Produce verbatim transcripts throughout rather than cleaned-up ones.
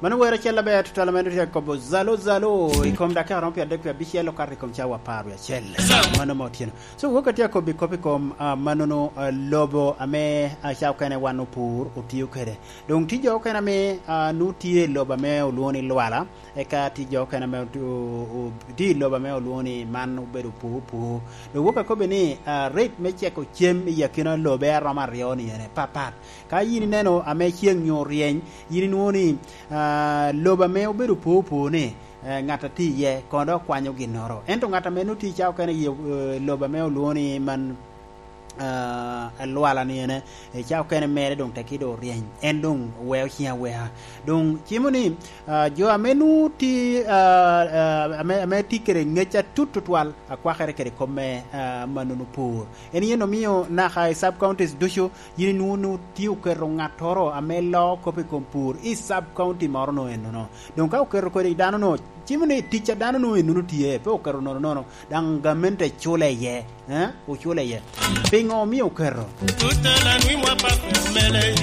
Mano wer acel aber tutwal ame tye akobo zalo, zalo, i kom dakika romo pyeradek wie abicel okato i kom cawa apar wie acel. Mano ma otyeno. So, wok atye akobo i kop i kom, ah, manono, ah, lobo ame, ah, ca okene wan opur otio kede. Doŋ tye jo okene ame, ah, nu tye i lobo ame olwoŋo ni lwala, eka tye jo okene ame otu-, o-, o-, tye i lobo ame olwoŋo ni man obedo pur, pur. Doŋ wok akobo ni, ah, rate me ceko cem i akina lobe aromo aryo ni ene papat. Ka yin ineno ame ceŋ nyo ryeny, yin inwoŋo ni, ah, lobo ame obedo opor opor ni, eh, ŋat a tye iye, kono dok kwanyo ginnoro. Ento ŋat ame nwoŋo tye i cawa okene i, eh, lobo ame olwoŋo ni man, ah, alwala ni ene, i cawa okene mere doŋ tekki doŋ oryeny. En doŋ weo ciŋ aweka. Doŋ cimo ni, ah, jo ame nwoŋo tye, ah, ah, ame, ame tye kede ŋec atut tutwal, akwakere kede kop me, ah, manono pur. En yen omio naka i sub counties ducu, yin inwoŋo ni tye oketo ŋattoro ame loo kop i kom pur i sub county moro no ennono. Doŋ ka oketo kodi dano no, cimo ni tic a dano no ennono tye, pe oketo nono nono, daŋ gamente cule iye, eh? Ocule iye. Piŋo omio oketo? Tutela nwi mwa pa mele.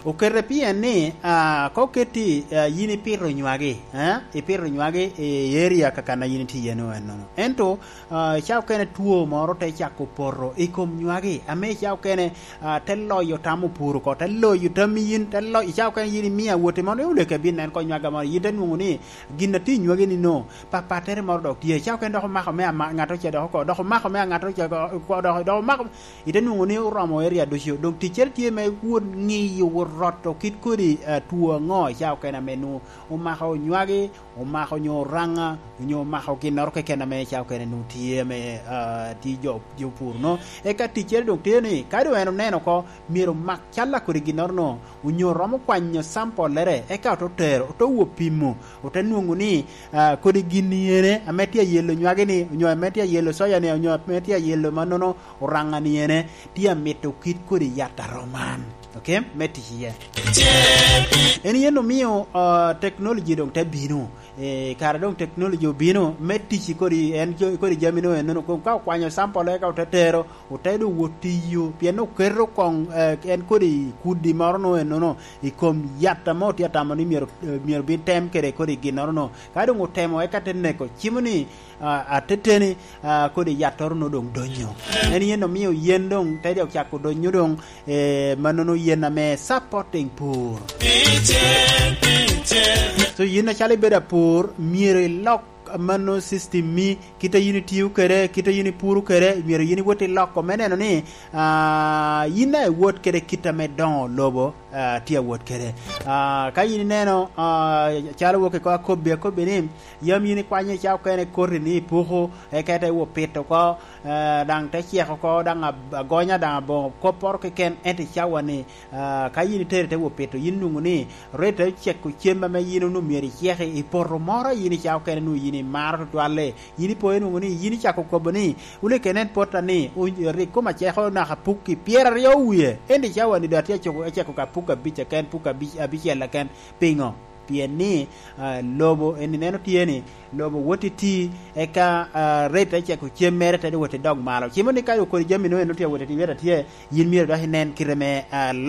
Okete pien ni, ah, ka oketi, ah, yin ipito nywagi, eh? Ipito nywagi i area kakan a yin itye iye no ennono. Ento, ah, i cawa okene two moro te cako poto i kom nywagi, ame i cawa okene, ah, te loyo tam opur oko, te loyo tam yin, te lo-, i cawa okene yin imio awoti moro, ni oleke bin nen ko nywaga moro, yin te nwoŋo ni gin a tye i nywagi ni no, papattere moro dok tye. I cawa okene dok omako me ama-, ŋat oce dok oko, dok omako me ŋat oce oko, dok, dok omako, ite nwoŋo ni oromo area ducu. Doŋ ticcere tye me wot ŋiyo, wot roto kit kodi, ah, two aŋo i cawa okene ame nwoŋo omako nywagi, omako nyo oraŋa, onyo omako ginnoro keken ame ca okene nwoŋo tye ame, ah, tye jo, jo pur no. Eka ticcere doŋ tye ni, ka doŋ en oneno oko, myero omak cal a kodi ginnoro no, onyo romo kwanyo sample-lere, eka ote tero, ote wo pimo, ote nwoŋo ni, ah, kodi gin ni ene ame tye ayelo nywagi ni, onyo ame tye ayelo soya ni, onyo ame tye ayelo mannono oraŋa ni ene, tye amito kit kodi yat a rom man. Ok? Me tic iye. En yen omio, ah, technology doŋ te bino. Eh, kara doŋ technology obino me tic i kodi, en jo-, i kodi jami no ennono. Ko-, ka okwanyo sample eka ote tero, ote doŋ wot tiyo, pien oketo koŋ, eh, en kodi kudi moro no ennono i kom yat ame otye atamo ni myero, eh, myero bin tem kede kodi ginnoro no. Ka doŋ otemo eka te neko, cimo ni, ah, ateteni, ah, kodi yattoro no doŋ donyo. En yen omio yen doŋ te dok cako donyo doŋ, eh, mannono yen ame supporting pur. So yin acalo ibedo apur, myero ilok mano system mi, kit a yin itio kede, kit a yin ipuro kede, myero yin iwot iloko me neno ni, ah, yin a iwot kede kit ame doŋo lobo, ah, tye awot kede. Ah, ka yin ineno, ah, calo wok i ko akobbi, akobbi ni, yam yin ikwanyo i cawa okene koti ni ipuko, eka ite wo pito oko, eh, daŋ te cek oko, daŋ ab-, agonya daŋ aboŋo kopporo keken, ento i cawa ni, ah, ka yin itero ite wo pito, yin nwoŋo ni rate te ceko cem ame yin onwoŋo myero iceki i poto moro a yin i cawa okene nwoŋo yin imaro tutwalle, yin ipoyo nwoŋo ni yin icako kobo ni, "Wun ikenen potta ni, o-, rik koma ceko naka pukki pyeraryo wie, ento i cawa ni doŋ atye aceko, aceko ka puk abic keken, puk abic, abicel keken." Piŋo? Pien ni, ah, lobo en ineno tye ni, lobo wot iti, eka, ah, rate te ceko cem mere te wot i dog malo. Cimo ni ka okodi jami no en otye awot i weta tye, yin myero dok inen kite me, ah,